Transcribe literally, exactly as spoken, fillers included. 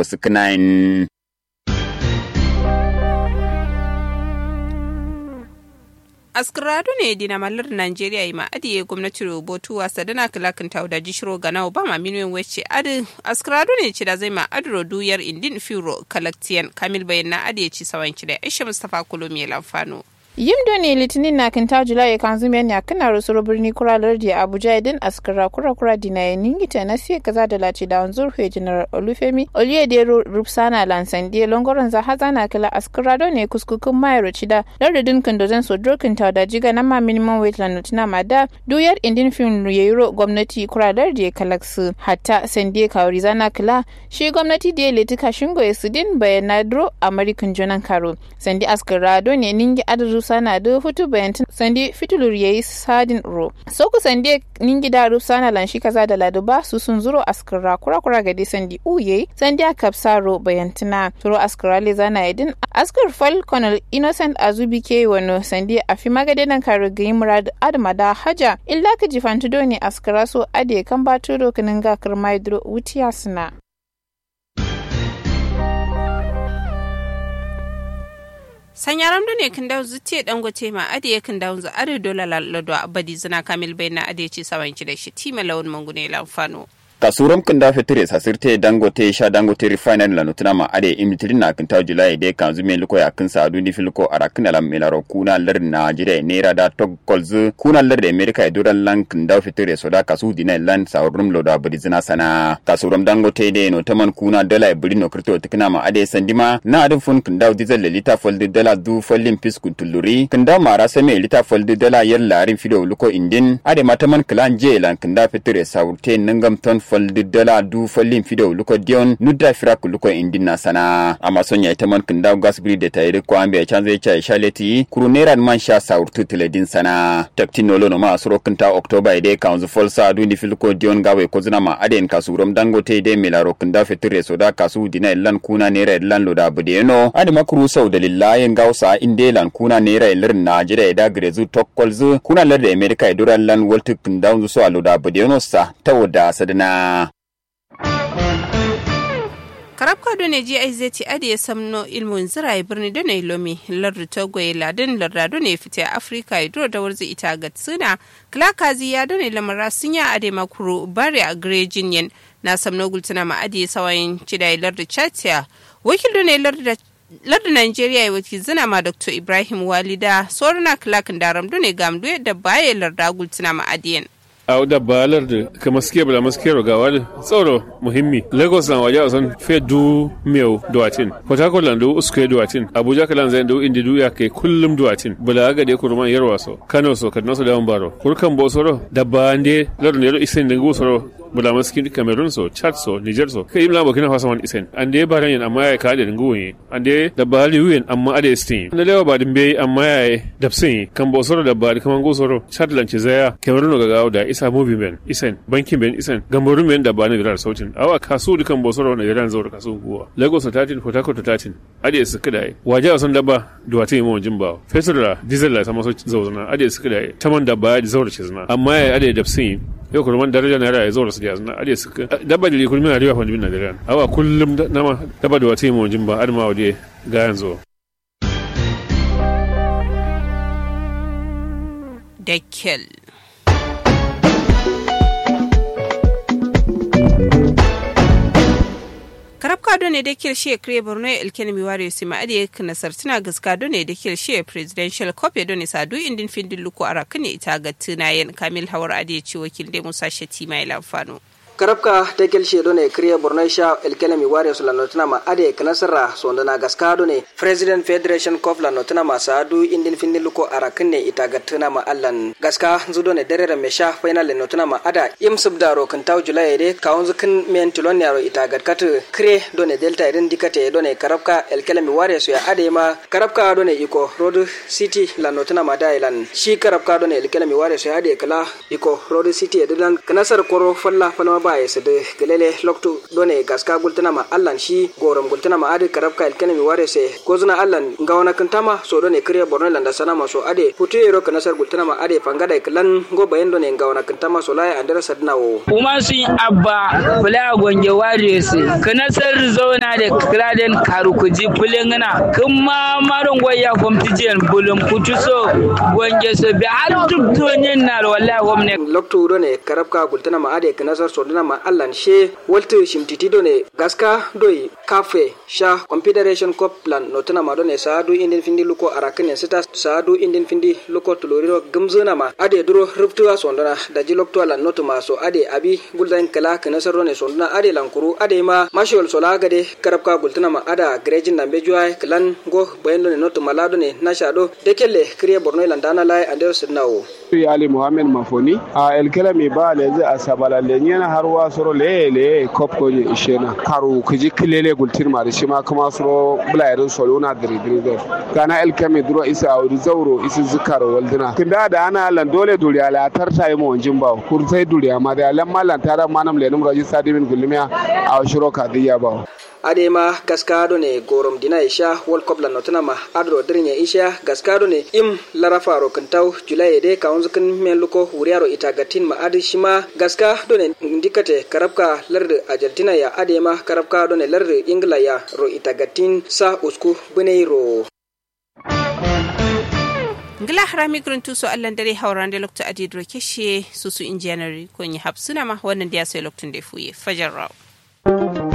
fuskǝnayin. Askǝra done dinama lardǝ najeriya yima adǝ ye gomnatiro botuwa sadana kǝla kǝntawu daji shiro ganawo bama minuwen wacce adǝ askǝra done cidazai ma adǝro duyar indin fiwuro kalaktiyen kamil bayanna adǝ ye cisawan cidai aisha mustapha kolomiye lamfano. Yim done litinin na kǝntawu julaye kanzum yan yakkǝnaro suro birni kura lardiye abuja ye dǝn askǝra kura kura dinaye ningi tanasiye kǝza dala cidawun zurhuye general olufemi oluyede ro rupsana lan sandiye longoronza hazana kǝla askǝra done kuskukkǝn mayero cida lardǝ dǝn kǝndo zan so duro kǝntawu daji ganamma minimum wage lan notǝnama da duyar indin fin yeyiro gomnati kura lardiye kalaksǝ hatta sandiye kawurizana kǝla shi gomnati diye letǝ kashingoye sǝdin bayanna duro amari kǝnjo nankaro sandi askǝra done ningi adǝ rupsana dǝ futu bayantǝn sandi fitulur yeyi sadin ro sokku sandi ningi da rupsana lan shi kaza da ladu ba susun zuro askǝra kura kura gade sandi u yeyi sandi a kapsa ro bayantǝna turo askǝra lezana ye dǝn askǝr fal konol innocent azubi ke wano sandi afima gade nankaro gǝyi murad adǝ mada haja illa kǝji fantǝ done askǝra so adǝ ye kamba turo kǝnǝnga kǝrma ye duro wutiya sǝna. Sanyaram done kǝndawu zǝtte dangote ma adǝ ye kǝndawu zǝ adǝ dola lado abadi zǝna kamil baina adǝ ye ci sawan kida shi tima lawun mangune lamfano. Kasuram kǝndawu fetur ye sasirte dangote sha dangote refinery lano tǝna ma adǝ ye imitirin na kǝntawu julaye de kanzu me luko yakkǝn sa'adu ni filko arakkǝn alam melaro kuna lardǝ najeriya ye naira da tog kolzǝ kuna lardǝ america ye duran lan kǝndawu fetur ye soda kasu dina ye lan sa'urrum lodo abadi zǝna sana kasuram dangote de no taman kuna dala ye bǝri no kǝrto tǝkǝna ma adǝ ye sandima na adǝn fun kǝndawu dizal le lita faldǝ dala du fallin fiskun tulluri kǝndawu mara same lita faldǝ dala yar larin fido luko indin adǝ ma taman kǝlan je ye lan kǝndawu fetur ye sa'urte nǝngam ton faldǝ dala du fallin fido luko diyon nudda firak luko indin na sana amma son yayi taman kǝndawu gas bǝri de tayi dǝ ko ambe ya canza ye cayi sha leti kuru naira man sha sa'urtu tǝledin sana taktin no lono ma suro kǝnta oktoba ye de kawunzu fal sa'adu ni filko diyon gawe kozǝna ma adǝ yen kasuram dangote de melaro kǝndawu fetur ye soda kasu dina ye lan kuna naira ye lan loda bǝde yeno adǝ ma kuru sau dalilla yen gawo sa'a inde lan kuna naira ye lardǝ najeriya ye da gǝrezǝ tokkolzǝ kuna lardǝ america ye duran lan waltǝ kǝndawunzǝ so a loda bǝde yeno sa tawo da sadǝna. Karabka done ji aizeti adǝ ye samno ilmun zǝraye bǝrni done lomi lardǝ togo ye ladǝn larda done fite africa ye duro dawarzǝ ita gatsǝna kǝla kazi ya done lamara sǝnya adǝ ye ma kuru bari a gǝrejin yen na samno gultǝna ma adǝ ye sawayin cida ye lardǝ chad ya wakil done lardǝ da lardǝ nigeria ye wakilzǝna ma doctor ibrahim walida sorona kǝla kǝndaram done gamdu ye dabba ye larda gultǝna ma adǝ yen. Awo dabba lardǝ kǝmaske bǝla maskero gawa dǝ tsoro muhimmi lagos lan waja son fe du mewu duwatin port harcourt lan du uskue duwatin abuja kǝlan zain du indi du yakke kullum duwatin bǝla gade kuruman yarwa so kano so kaduna so daman baro kuru kambo soro dabba nde lardǝ nde do isen dǝ ngu soro bǝla maskin cameroon so chad so niger so kai imla burkina faso man isen ande baran yen amma yayi ka'ade dǝ ngu wunye ande dabba liwu yen amma adǝ ye sǝtin ye nalewa badǝ mbeyi amma yayi dabsǝn ye kambo soro dabba dǝ kǝma ngu soro chad lan cizaya cameroon no gagawo da isa mubi mben isen banki mben isen gamboru mben dabba nigeria dǝ sautin awa kasu dǝ kambo soro nigeria dǝ zauro kasu nguwa lagos so tatin port harcourt so tatin adǝ ye sǝkkǝ dayi waja son dabba duwatin ye mawonjin bawo fetur la diesel la sama so zauzǝna adǝ ye sǝkkǝ dayi taman dabba ye dǝ zauro cizǝna amma yayi adǝ ye dabsǝn ye yo kuruman daraja naira ye zauro sǝdiyazǝna adǝ ye sǝkkǝ dabba dǝ likurmin ariwa fandǝmin nigeria awa kullum nama dabba duwatin ye mawonjin ba adǝ ma wadiye gayan zo. Dakkel. Karabka done dakkel shiye kǝre borno ye elkenemi wariyo sima adǝ ye kǝnasartǝna gǝska done dakkel shiye presidential cup ye done sadu indin findin luko arakkǝne ita gattǝna yen kamil hawar adǝ ye ci wakil de musa shatima ye lamfano. Karabka dakkel shiye done kǝre borno ye sha elkenemi wariyo sula notǝna ma adǝ ye kǝnasarra sondona gaska done president federation cup la notǝna ma sadu indin findin luko arakkǝne ita gattǝna ma allan gaska nzudone dereremme sha fainal le notǝna ma ada im sǝbdaro kǝntawu julaye de kawunzǝ kǝn men tilon yaro ita gatkatǝ kǝre done delta ye dǝn dikate ye done karabka elkelemi ware soya adǝ ye ma karabka done iko road city lan notǝna ma daye lan shi karabka done elkelemi ware soya adǝ ye kǝla iko road city ye dǝ lan kǝnasar koro falla falma. Baye sǝdǝ gǝlele loktu done gaska gultǝnama allan shi gorom gultǝnama adǝ karabka ilkenemi ware se gozǝna allan ngawona kǝntama so done kǝriye borno landa sanama so adǝ futu yero kǝnasar gultǝnama adǝ fangada kǝlan ngo bayen done ngawona kǝntama so laye andero sadǝna wo. Umasu abba fǝla gonge ware se kǝnasar zauna de kǝla den karu kǝji fǝlengǝna kǝmma maro ngoya fomtǝjiyen bulum kutu so gonge so be har duk doniyen naro wallahi fomne. Loktu done karabka gultǝnama adǝ kǝnasar sodǝnama allan she waltǝ shimtiti done gaska doi kafe sha confederation cup lan notǝnama done saadu indin findi luko arakǝnen sǝta saadu indin findi luko tuluriro gǝmzǝnama adǝ duro rǝftuwa sondona daji loktuwa lan notǝma so adǝ abi gulzain kǝla kǝnasar done sondona adǝ lan kuru adǝ ma mashiyol sola gade karabka gultǝnama adǝa gǝrejin nambe juwaye kǝlan ngo bayin done notǝma la done nasha do dekelle kǝriye borno ilan dana laye andero sǝdǝna wo. Yali muhammed mafoni a elkelami ba lezi asabala lenyena har wa soro leye leye kop gonye ishena karu kǝji kǝlele gultin mari shima kǝma suro bulayerin soluna diri diri dai gana elkami duro isi awudi zauro isi zukaro walduna kǝnda da ana lan dole duriya la tarta yimo wanjin bawo kursai duriya ma da lamma lan tara manam lenum raji sadimin gulmiya awo shiro kadiyya bawo. Adai ma gaska done gorom dina isha world cup lan notuna ma adro dirnya isha gaska done im larafaro kǝntau julai de kawunzu kǝn men luko wuriyaro ita gattin ma adǝ shima gaska done ndikate karabka lardǝ argentina ya adai ma karabka done lardǝ ingila ya ro ita gattin sa usku bǝnai ro. Ngla harami kǝrǝntu so allan dare haurande loktu adǝ duro keshe susu injiyanari konyi hapsuna ma wannan diya sai loktun de fuye fajar rawo.